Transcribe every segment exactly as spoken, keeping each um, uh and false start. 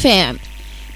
F M.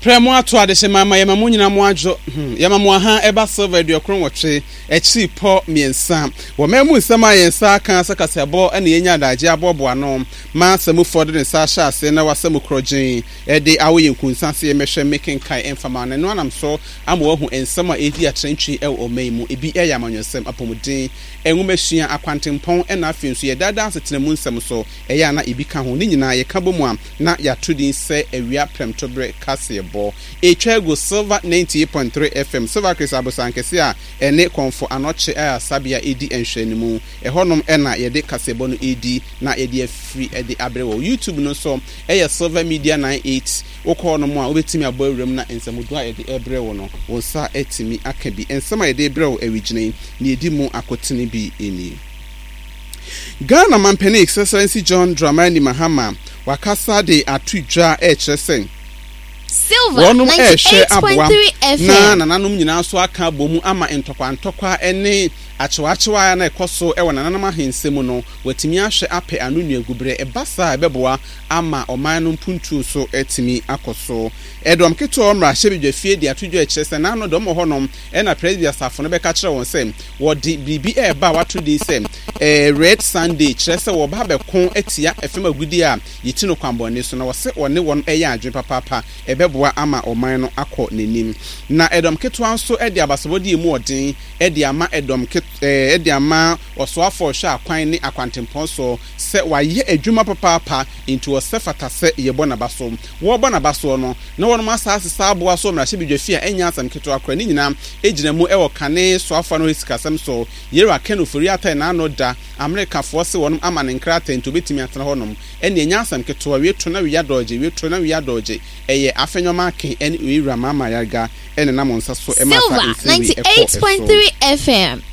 Prɛ mo ato adehyɛ ma ma yɛma mo nyina mo adwo hmm yɛma mo aha. Ɛba Silver aduokron nwɔtwe akyiri pɔ mmiɛnsa wɔ man mu nsɛm a yɛn nsa aka sɛ kaseɛbɔ ɛna yɛnya adagye aboaboa ano ma sɛmufoɔ de ne nsa ahyɛ ase na wasa mu korɔgyen ɛde awo yɛn nkunsa se yɛmɛhwɛ mekenkan ɛmfama no. Ɛno anam so ama wahu nsɛm a ɛdi atrɛntwi ɛwɔ ɔman yi mu. Ebi ɛyɛ amanyɔsɛm, apɔmuden, nwomasua, akwantempɔn, ɛna afei nso yɛdaadaa asetena mu nsɛm so ɛyɛ ana ebi ka ho. Ne nyinaa yɛka bɔ mu a na yɛato din sɛ Awia Prɛmtoberɛ Kaseɛbɔ. Ɛtwa agu Silver ninety-eight point three F M, Silver Chris Abosankɛse a ɛne Kɔmfo Anɔkye Ayasabea ɛdi nhwɛnimu. Ɛhɔnom ɛna yɛde kaseɛbɔ no ɛdi na yɛde afiri ɛde abrɛ wɔ YouTube no nso ɛyɛ Silver Media ninety-eight. Wokɔɔ no mu a wobɛtumi abɔ awuram na nsɛmmodoɔ a yɛde ɛbrɛ wo no, wo nsa atumi aka bi. Nsɛm a yɛde brɛ wo awigyina yi na yɛdi mu akotene bi nie. Ghana mampanin, His Excellency John Dramani Mahama, wakasa de ato dwa ɛrekyerɛ sɛ Silver wɔnom ɛrehwɛ aboa ninety-eight point three na F M. Nananom nyinaa nso aka abɔ mu ama ntɔkwa ntɔkwa ne akyewaakyewa a na ɛkɔ so wɔ nananom ahensɛ mu no, wɔatumi ahwɛ apɛ ano nnuaguberɛ. Ɛba saa a, ɛbɛboa ama ɔman no mpuntuo so atumi akɔ so. Ɛdɔm ketewa mmarahyɛbadwa fie de ato dwa kyerɛ sɛ n'ano dɔm wɔ hɔnom ɛna Presby asafo no bɛka kyerɛ wɔn sɛ wɔde biribi ɛreba a wato din sɛ ɛɛ Red Sunday, kyerɛ sɛ wɔba abɛko atia ɛfam agudie a yɛti no kwanbɔne so, na wɔsɛ wɔne wɔn ɛyɛ adwene papaapa, ɛbɛboa ama ɔman no akɔ n'anim. Na ɛdɔm ketewa nso de abasobɔdeɛ mu ɔden de ama ɛdɔm ket ɛɛ de ama ɔsoafoɔ ɔhwɛ akwan ne akwantempɔn so sɛ wayɛ adwuma papaapa, nti wɔsɛ fata sɛ yɛbɔ n'aba so. Wɔrebɔ n'aba soɔ no na wɔnom asaase saa aboa so mmarahyɛbadwa fie a ɛnyɛ asɛm ketewa koraa. Ne nyinaa gyina mu ɛwɔ kane soafoɔ no sikasɛm so, Yɛwura Ken Ofori-Atta, n'ano da Amerikafoɔ se wɔnom ama ne nkrataa nti obɛtumi atena hɔnom. Ɛne ɛnyɛ asɛm ketewa. Wie to na wie adɔgye, wie to na wie adɔgye, ɛyɛ Afenyo Markin ɛne Owura Mahama Ayariga ɛne nam nsa so ɛma saa Silver nsɛm wei ɛkɔ ɛso. ninety-eight point three F M.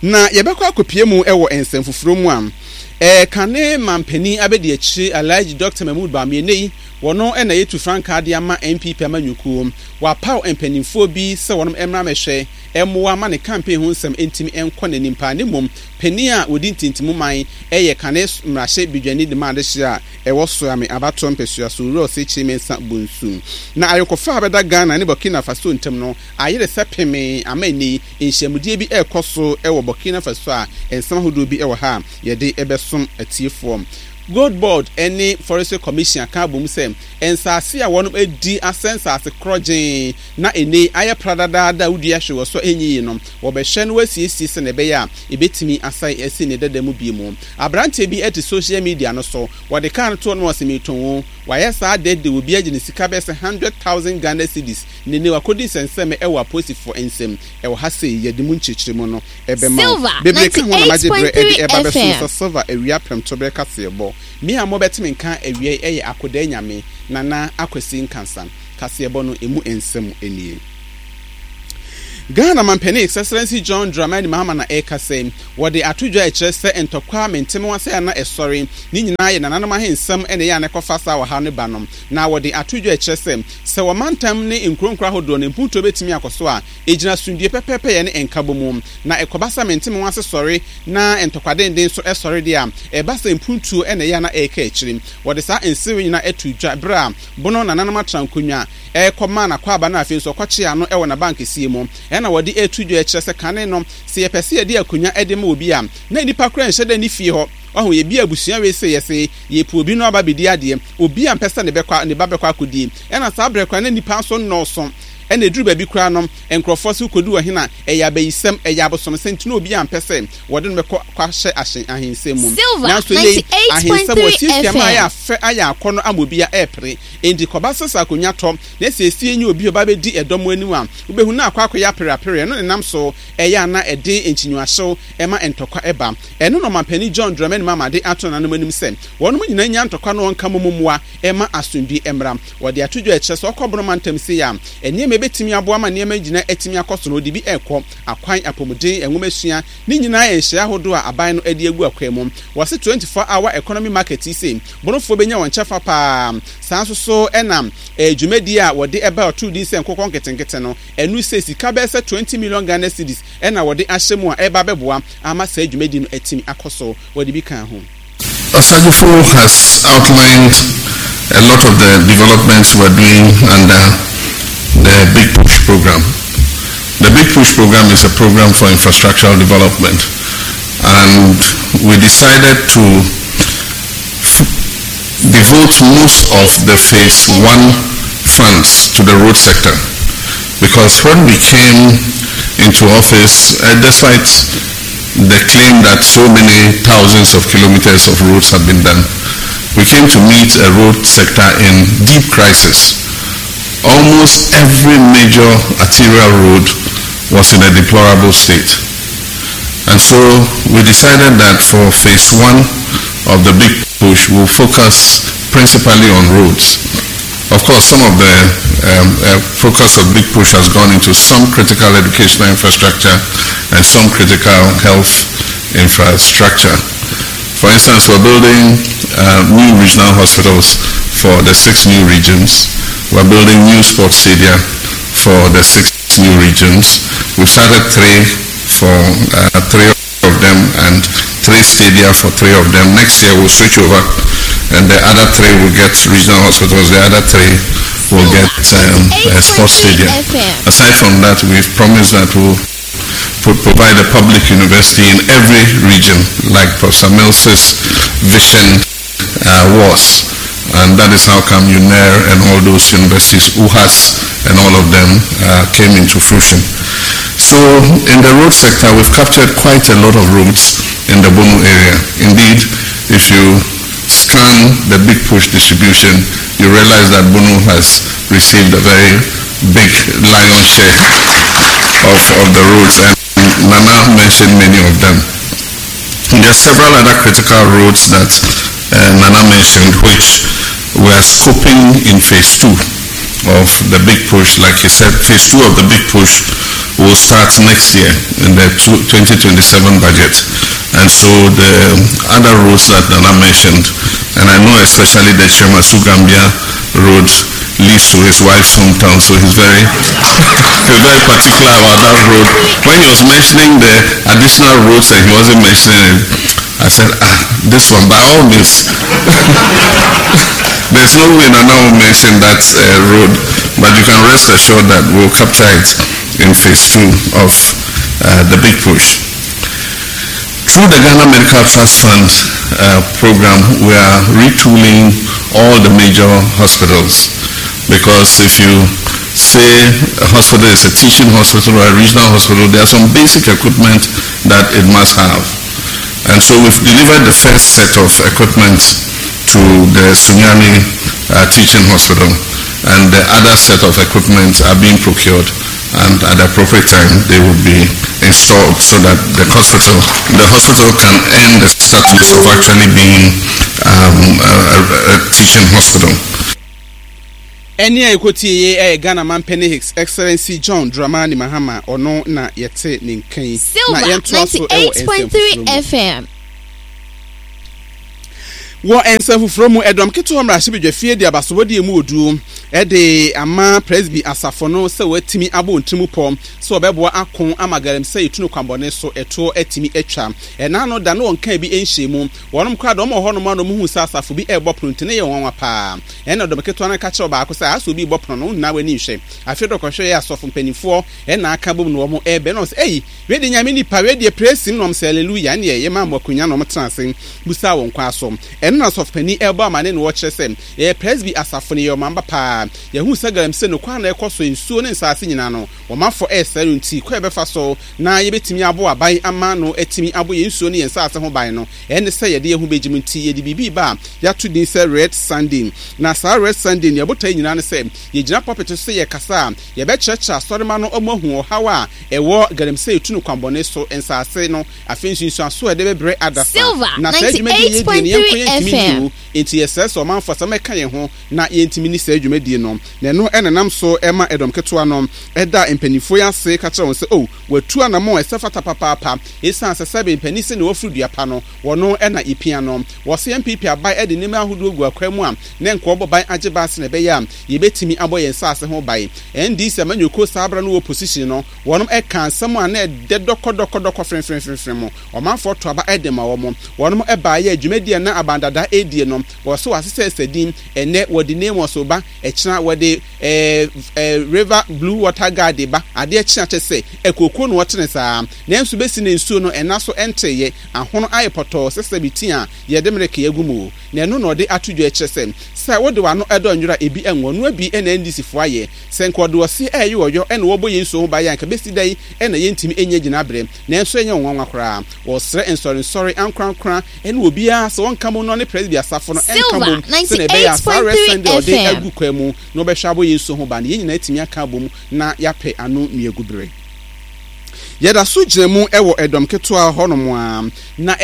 Na yɛbɛkɔ akɔpie mu ɛwɔ nsɛm foforɔ mu a ɛɛ kane mampanin abɛdi akyire, Alhaji Doctor Mahmood Bawumia yi, wɔno ɛna yɛtu frankaa de ama N P P amanyɔkuo. Wapaw mpanimfoɔ bi sɛ wɔnom mmra mɛhwɛ ɛmmoa ma ne campaign ho nsɛm ntumi nkɔ n'anim paa. Ne mmom panin a wɔdi ntintimu man ɛyɛ kane mmarahyɛ badwani de ma adehyɛ a ɛwɔ Soame abatoɔ mpɛsua so, Owura Osei Mensah Bonsu. Na ayɔkɔfa a bɛda Ghana ne Burkina Faso ntam no ayere sɛ pemee ama ani nhyiamudie bi ɛrekɔ so ɛwɔ Burkina Faso a nsɛm ahodoɔ bi ɛwɔ ha a yɛde ɛbɛsom atiefoɔ. Gold Board ne Forestry Commission aka abom sɛ nsaase a wɔn adi asɛ nsaase korɔgyee na ene ayɛ pradadaada a wodua hwee wɔ so a ɛnyi yi no, wɔbɛhwɛ no wasiesie sɛ na ɛbɛyɛ a ɛbɛtumi asan asi ne dada mu bie mu. Aberanteɛ bi te social media no so, wɔde kaa no toɔ no, wɔsɛ metɔn o. Wayɛ saa dɛdɛ obi agye ne sika bɛyɛ sɛ hundred thousand Ghana cedis. Ne ne wakɔdi nsɛnsɛm ɛwɔ apolisifoɔ nsɛm ɛwɔ ha sei. Yɛde mu nkyerɛkyerɛ mu no ɛbɛma wo Silver bebree ka ho na magye berɛ ɛde ninety-eight point three ɛba bɛso F M. Sɛ Silver Awia Prɛmtoberɛ kaseɛbɔ me a mobɛteme nka awia yi ɛyɛ Akodaa Nyame Nana Akwasi Nkansa. Kaseɛbɔ no emu nsɛm nie. Ghana mampanin, His Excellency John Dramani Mahama, na ɛreka sɛ wɔde ato dwa ɛkyerɛ sɛ ntɔkwa mente ase a na ɛsɔre ne nyinaa yɛ nananom ahensɛm ɛna ɛyɛ a na ɛkɔfa saa ɔhaw no ba no. Na wɔde ato dwa ɛkyerɛ sɛ sɛ wɔmantam ne nkuronkuro ahodoɔ no mpuntuo bɛtumi akɔ so a, ɛgyina sundue pɛpɛɛpɛ yɛ ne nkabɔ mu. Na ɛkɔba sɛ mente ase sɔre na ntɔkwa denden nso ɛsɔre deɛ a, ɛba sɛ mpuntuo ɛna ɛyɛ a na ɛreka akyire. Wɔde saa nsɛm nyinaa ɛto dwa berɛ a Bono nananom atena nkonnwa ɛrekɔma n'akwaaba no, afei nso ɔkɔkye ano ɛwɔ n'abankɛseɛ mu. Ɛna wɔde ɛto dwa ɛkyerɛ sɛ kane no, sɛ yɛpɛ sɛ yɛde akonnwa ɛde ma obi a, na nnipa koraa nhyɛ dɛ ne fie hɔ ɔho yɛbi abusua wei sɛ yɛsɛ yɛpɛ obi no aba bɛdi adeɛ, obi a mpɛ sɛ ne bɛkɔ ne ba bɛkɔ akɔdie. Ɛna saa berɛ koraa na nnipa nso nnɔɔso, ɛna ɛduru baabi koraa no nkurɔfoɔ sɛ wokɔdu ɔhene a, ɛyɛ abayisɛm, ɛyɛ abosomsɛm, nti na obi a mpɛ sɛ wɔde no bɛkɔ kɔahyɛ ahyen ahensɛm mu. Silver nanso yei ahensɛm ninety-eight point three wɔasiesie ma ayɛ F M. afɛ ayɛ akɔ no ama obi a ɛɛpere. Enti kɔba sɛ sɛ akonnwa tɔ na siesie nye obi a ɔba bɛdi ɛdɔm anim a, wobɛhu na akɔ akɔyɛ apereapere. Ɛno nenam so ɛyɛ ana ɛde nkyinwahyew ɛma ntɔkwa ɛba. Ɛno na ɔmampanin John Dramani Mahama de ato nananom anim sɛ wɔnom nyinaa nya ntɔkwa no ɔnka mo mmoa ɛma asomdwe mmra. Wɔde ato dwa ɛkyerɛ sɛ ɔkɔ Boroma ntam sei a, nneɛma ɛbɛtumi aboa ma nneɛma gyina atumi akɔ so no, ɔde bi ɛrekɔ akwan, apɔmuden, nwomasua, ne nyinaa yɛ nhyɛ ahodoɔ a aban no de agu akwan mu. Wɔse twenty-four hour economy market yi sei, Bonofoɔ bɛnya wɔn kyɛfa paa. Saa nso so ɛna eh, dwumadie a wɔde ɛba ɔtoo din sɛ nkokɔ nketenkete no, ɛno sɛ sika bɛyɛ sɛ twenty million Ghana cedis ɛna wɔde ahyɛ mu a ɛba bɛboa ama saa dwumadie no atumi akɔ so. Wɔde bi ka ho. Osagyefo has outlined a lot of the developments we're doing under the Big Push program. The Big Push program is a program for infrastructural development, and we decided to f- devote most of the phase one funds to the road sector, because when we came into office, uh, despite the claim that so many thousands of kilometers of roads have been done, we came to meet a road sector in deep crisis. Almost every major arterial road was in a deplorable state. And so we decided that for phase one of the Big Push, we'll focus principally on roads. Of course, some of the um, uh, focus of Big Push has gone into some critical educational infrastructure and some critical health infrastructure. For instance, we're building uh, new regional hospitals for the six new regions. We're building new sports stadia for the six new regions. We've started three for uh, three of them and three stadia for three of them. Next year we'll switch over, and the other three will get regional hospitals, the other three will get um, a sports stadium. Aside from that, we've promised that we'll pro- provide a public university in every region, like Professor Mills's vision uh, was. And that is how come UNER and all those universities, U H A S and all of them, uh, came into fruition. So in the road sector, we've captured quite a lot of roads in the Bono area. Indeed, if you scan the Big Push distribution, you realize that Bono has received a very big lion's share of, of the roads, and Nana mentioned many of them. There are several other critical roads that, uh, Nana mentioned, which we are scoping in phase two of the Big Push. Like he said, phase two of the Big Push will start next year in the twenty twenty-seven budget. And so the other roads that Nana mentioned, and I know especially the Chemasu Gambia road leads to his wife's hometown, so he's very, he's very particular about that road. When he was mentioning the additional roads and he wasn't mentioning it, I said, ah, this one, by all means. There's no way Nana will mention that, uh, road, but you can rest assured that we'll capture it in phase two of, uh, the Big Push. Through the Ghana Medical Trust Fund, uh, program, we are retooling all the major hospitals, because if you say a hospital is a teaching hospital or a regional hospital, there are some basic equipment that it must have. And so we've delivered the first set of equipment to the Sunyani, uh, Teaching Hospital, and the other set of equipment are being procured, and at the appropriate time they will be installed so that the hospital, the hospital can earn the status of actually being, um, a, a, a teaching hospital. Ɛne a ɛkɔtie yɛ ɛyɛ Ghana Mampene His Excellency John Dramani Mahama, ɔno na yɛte ne nkan. Na Silver yɛntoa so ɛwɔ ninety-eight point three nsɛm foforɔ mu. F M. Wɔ nsɛm foforɔ mu, ɛdɔm ketewa mmarahyɛbadwa fie de abasobɔdeɛ mu oduo ɛde ama Presby asafo no sɛ wɔatumi abɔ wɔn tirim pɔ sɛ wɔbɛboa ako ama galamsey etu no kwanbɔne so ɛtoɔ atumi atwa. Ɛna no da no wɔn kan bi nhyɛ mu. Wɔnom koraa dɔm wɔ hɔnom a na wɔn hu sɛ asafo bi ɛrebɔ pono nti ne yɛ wɔn nwanwa paa. Ɛna dɔm ketewa no ka kyerɛ ɔbaako sɛ asɛ obi bɔ pono no, wo nyinaa w'ani nhwɛ. Afei dɔ kɔhwɛ yɛ asɔfo mpanimfoɔ ɛna aka bom na wɔn ɛrebɛ na wɔn sɛ, Ei, wei de Nyame nipa, wei deɛ praise him, na wɔn sɛ hallelujah. Ɛne ɛyɛ maa mo akonnwa na wɔn tena ase busa wɔn kwan so. Ɛno na asɔfo panin ɛrebɔ amane na wɔkyerɛ sɛ yɛyɛ Presby asafo no, yɛyɛ ɔmamba paa. Yɛhu sɛ galamsey no kwan na ɛkɔ so nsuo ne nsaase nyinaa no, wɔn afɔ ɛresɛe no nti kwan yɛbɛfa so na yɛbɛtumi abɔ aban ama no atumi abɔ yɛn nsuo ne yɛn nsaase ho ban no, ɛne sɛ yɛde yɛn ho bɛgye mu nti yɛde biribi ba a yɛato din sɛ Red Sunday. Na saa Red Sunday no, yɛbotae nyinaa ne sɛ yɛgyina pulpit so sɛ yɛkasa a yɛbɛkyerɛkyerɛ asɔrema no ɔmo ahu ɔhaw a ɛwɔ galamsey tu no kwanbɔne so nsaase no, afei nsunsuanso a ɛde bɛbrɛ adasa. Silver Na saa dwumadie yɛdie no, yɛnkɔ ninety-eight point three yɛntumi F M. nni o. Enti yɛsrɛ sɛ ɔmanfoɔ sɛ mɛka yɛn ho na yɛntumi nni saa dwumadie adie no. Na ɛno na ɛnam so ma ɛdɔm ketewa no da mpanimfoɔ yi ase ka kyerɛ wɔn sɛ, O, wɔatu anammɔn a ɛsɛ fata papaapa, esiane sɛ sɛbe mpanin se nea waforo dua pa no, wɔno na epia no. Wɔse N P P aban de nneɛma ahodoɔ gu akwan mu a na nka wɔbɔ ban agye ban sɛnea ɛbɛyɛ a yɛbɛtumi abɔ yɛn nsaase ho ban. N D C amanyɔkuo saa berɛ no wɔ opposition no, wɔnom ɛkaa nsɛm a na ɛdɛ dɔkɔdɔkɔdɔkɔ fremfremfremfrem mu. Ɔmanfoɔ to aba de ma wɔn. Wɔnom baeɛ a dwumadie a na aban dada redie no, wɔse wɔasesɛsɛ din. Ɛnnɛ wɔde NAIMOS ba, ɛkyena wɔde eh, eh, River Blue Water Guard ba, adeɛ kye a kyɛ sɛ akuokuo na wɔtene saa. Nanso bɛsi nnɛ nsuo no ɛna so ɛnteeɛ, ahono ayɛ pɔtɔɔ sɛ sɛbe ti a yɛde mmereke agu mu. Na ɛno na ɔde ato dwa kyerɛ sɛ, sɛ wode w'ano dɔ nwera a ebi ɛnwɔ, noa bi na N D C foɔ ayɛ. Sɛ nka ɔde ɔseɛ ɛɛyɛ ɔyɔ ɛna wɔbɔ yɛn nsuo ho ban a, anka bɛsi dɛn na yɛntumi nnya gyinaberɛ? Nanso ɛnyɛ wɔn nwanwa koraa. Wɔsrɛ nsɔrensɔre ankorankora ne obiara sɛ wɔnka mmom na ɔne Presby asafo no nka Silver mmom sɛnea ɛbɛyɛ a saa ninety-eight point three Red Sunday a ɔde F M. agu kwan mu na ɔbɛhwɛ abɔ yɛn nsuo ho ban no, yɛn nyinaa atumi aka abom na yɛapɛ ano nnuagu bere. Yɛda so gyina mu wɔ ɛdɔm ketewa hɔnom ara, na.